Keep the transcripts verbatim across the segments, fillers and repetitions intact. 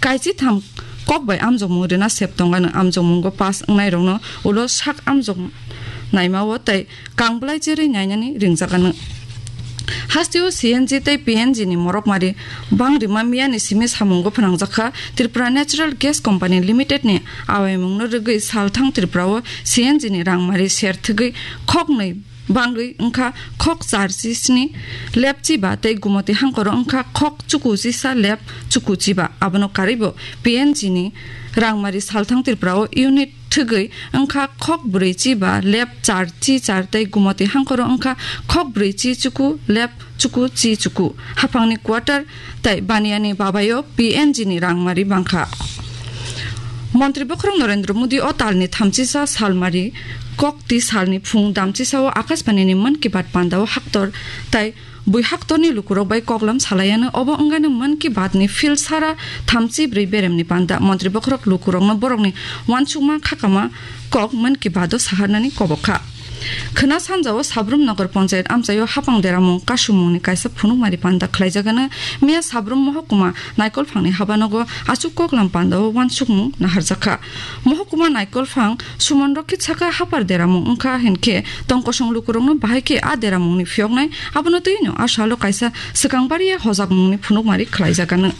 Kaisi tham kok bai amjokmung rina sep tongano, amjokmungo pass wngnairokno ulo sak amjok naimao tei kangbwlai cherwi nainani ringjagano. Hasteo C N G tei P N G ni morokmari bang rima miyani simi samungo phnangjakha. Tripura Natural Gas Company Limited ni awaimungno rwgwi salthang Tripurao C N G ni rangmari serthwgwi khoknwi bangwi wngkha khok charchi sni lep chiba tei Gumoti hangkoro wngkha khok chuku chisa lep chuku chiba. Abono karwibo P N G ni rangmari salthang Tripurao unit thwgwi wngkha khok brwi chiba lep char chi char tei Gumoti hangkoro wngkha khok brwi chi chuku lep chuku chi chuku. Haphangni quarter tei Baniani babayo P N G ni rangmari bangkha. Montri bokhorok Narendra Modi o talni thamchisa salmari kokti salni phung damchisao Akashbani ni Mann Ki Baat pandao haktor tei bui haktorni lukurok bai koklam salaiano. Obo wngano Mann Ki Baat ni field sara thamchi brwi beremni panda. Montri bokhorok lukurokno borokni uansukma khakama kok Mann Ki Baat o saharnani kobokha. Khwna sanjao Sabrum Nagar Panchayat amchaio hapang deramung kasumungni kaisa phunukmari panda khlaijagano. Miya Sabrum Mohokuma Naikolphangni habanogo achuk koklam pandao uansukmung naharjakha. Mohokuma Naikolphang Suman Rokhi saka hapar deramung wngkha hinkhe tongkosong lukurokno bahai khe a deramungni phiyoknai, abono twino a salo kaisa swkang bariya hojakmungni phunukmari khlaijagano.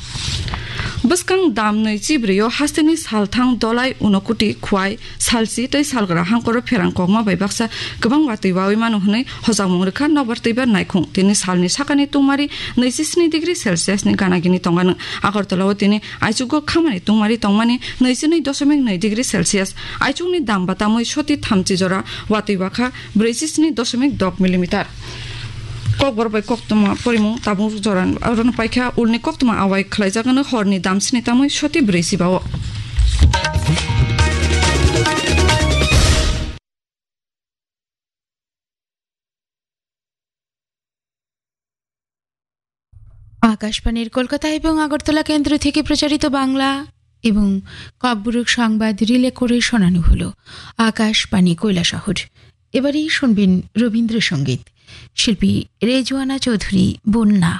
Bwskang dam nwi chibrwi o hasteni salthang Dolai, Unokuti, Khwai, Salchi tei Salgra hangkoro pherang kokma bai baksa kwbang watwi wawi mano hwnwi hojakmung rwkha nokbar twibar naikhung. Tini salni sakani tungmari nwi chi sni degree Celsius ni gana gini tongano. Agartala o tini aichugo khamani tungmari tongmani nwi chi nwi doshomik nwi degree Celsius. Aichukni dam batamwi soti thamchi jora watwi wakha brwi chi sni doshomik dok millimeter. Kokborok bai koktwma porimung tabuk jora orono paikha, ulni koktwma awai khlaijagano horni dam sni tamwi soti brwi chibao. আকাশবাণীর কলকাতা এবং আগরতলা কেন্দ্র থেকে প্রচারিত বাংলা এবং ককবরক সংবাদ রিলে করে শোনানো হলো আকাশবাণী কৈলাসহর। এবারেই শুনবেন রবীন্দ্রসঙ্গীত, শিল্পী রেজওয়ানা চৌধুরী বন্যা।